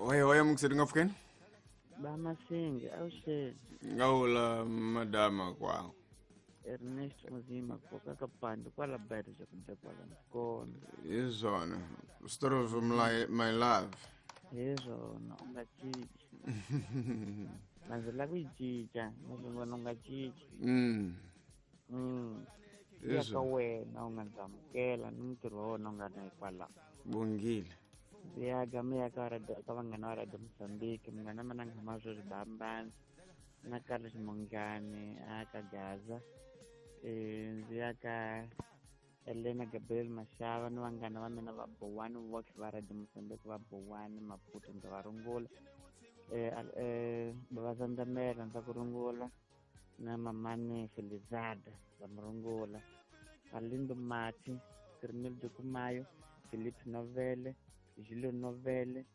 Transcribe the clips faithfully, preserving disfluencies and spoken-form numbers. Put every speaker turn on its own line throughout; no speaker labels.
Oye oye mukiseri ngafukeni.
Bamasinge awusheni.
Ngawula madama kwa.
Ernesto Muzima koka kapande kwala berja kumbe kwala mkono.
Izona. Story of my, my love.
Izona ungachichi. Manzela kuyichicha, ngizona ungachichi.
Mm.
Mm. Yaka wena ungazamukela nomntirho wa wena ungana hikwalaho.
Bongile.
Ya gama ya ka radio ka vanghana va Radio Mozambique, munghana mina nga sweswi Bambani na Carlos Mongane a ka Gaza. Eh ndzi ya ka Elena Gabriel Mashava ni vanghana va mina va Bowani Works va Radio Mozambique va Bowani Maputo ndza va rungula. Eh eh va Zandamela ndza ku rungula na mamani Felizada va murungula. Alindo Mati, Kirmil Dukumayo, Philip Novele, Julio Novele,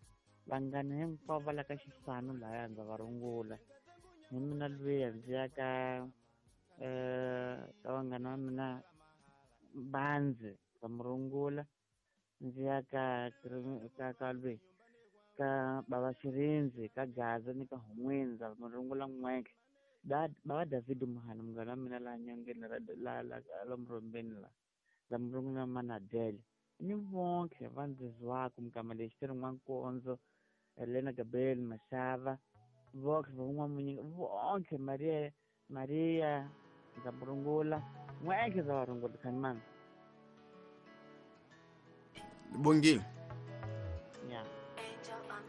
vanghana hinkwavo va la ka xifano laya ndza va rungula. Hi mina luya ndzi ya ka eh ka vanghana va mina Banzi va murungula, ndzi ya ka ka ka lwe ka baba Xirinzi ka Gaza ni ka Hun'wini ndza murungula n'wentlhe. Da baba David Muhana munghana wa mina laha nyongeni la la la la murhombeni la ndza murungula Manadele ni vonke va ndzi zwaka mukama lexi ti ri N'wankonzo Elena Gabriel Mashava vonke va n'wamunyinga vonke Maria Maria ndza murungula n'wentlhe ndza va rungula khanimani.
Bongile.